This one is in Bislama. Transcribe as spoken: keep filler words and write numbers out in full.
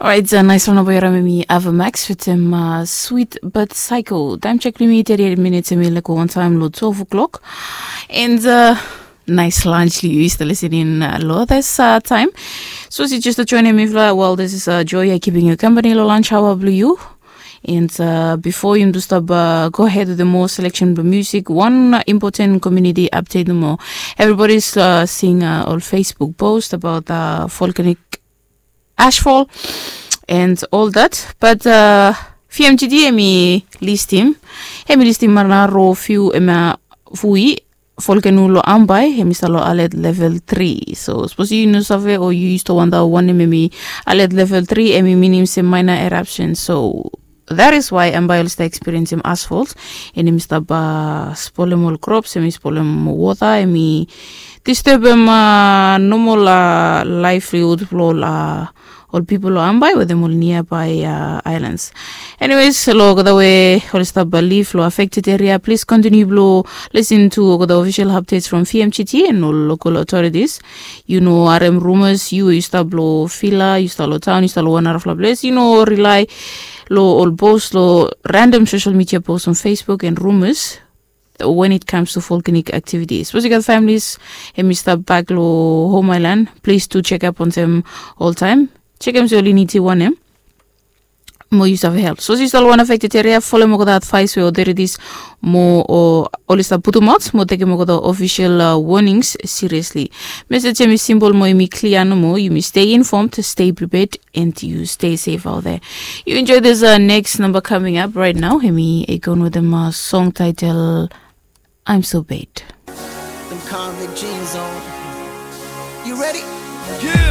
Orait, nais long namba yu harim em i Ava Max wetem Sweet But Psycho. Taem jek blong yumi teti eit minits, em i laik go wantaem long twelve o'clock. And nais lunch long yu i stap listening long this taem. Sapos yu jes joinim mifala, well, this is Joy ya keeping yu company long lunch hour blong yu. And bifo yumi tu stap go ahead wetem moa selection blong music, wan important community update nomo. Everybody is seeing ol Facebook post about volcanic ashfall and all that. But V M G T em i listim, em i listim marana ro fiu em ya, fui volcano long Ambae em i stap long alert level three. So sapos yu no save o yu yu stap wanda wanem em i alert level three, em i minim se minor eruption. So that is why Ambae oli stap experiencem ashfall, and em i stap spolem ol crops, em i spolem wota, em i disturbem normal livelihood blong ol pipol long Ambae wetem ol nearby islands. Anyways, long olgeta we oli stap liv long affected area, please continue blong listen to olgeta official updates from V M G T and ol local authorities. Yu no harem rumors, yu we yu stap long villa, yu stap long taon, yu stap long wan narafala ples, yu no rely long ol post long random social media post on Facebook and rumors when it comes to volcanic activities. Sapos yu gat families em i stap bak long home island, please do check up on them oltaem. Jekem se oli nidim wanem mo yu save help. Sapos yu stap long wan affected area, folem olgeta advice we authorities mo oli stap putumaot mo tekem olgeta official warnings seriously. Message em i simple mo em i clear nomo. Yumi stay informed, stay prepared, and you stay safe out there. You enjoy this next number coming up right now. Em i Akon wetem song title I'm So Bad. Them convict jeans on. You ready? Yeah.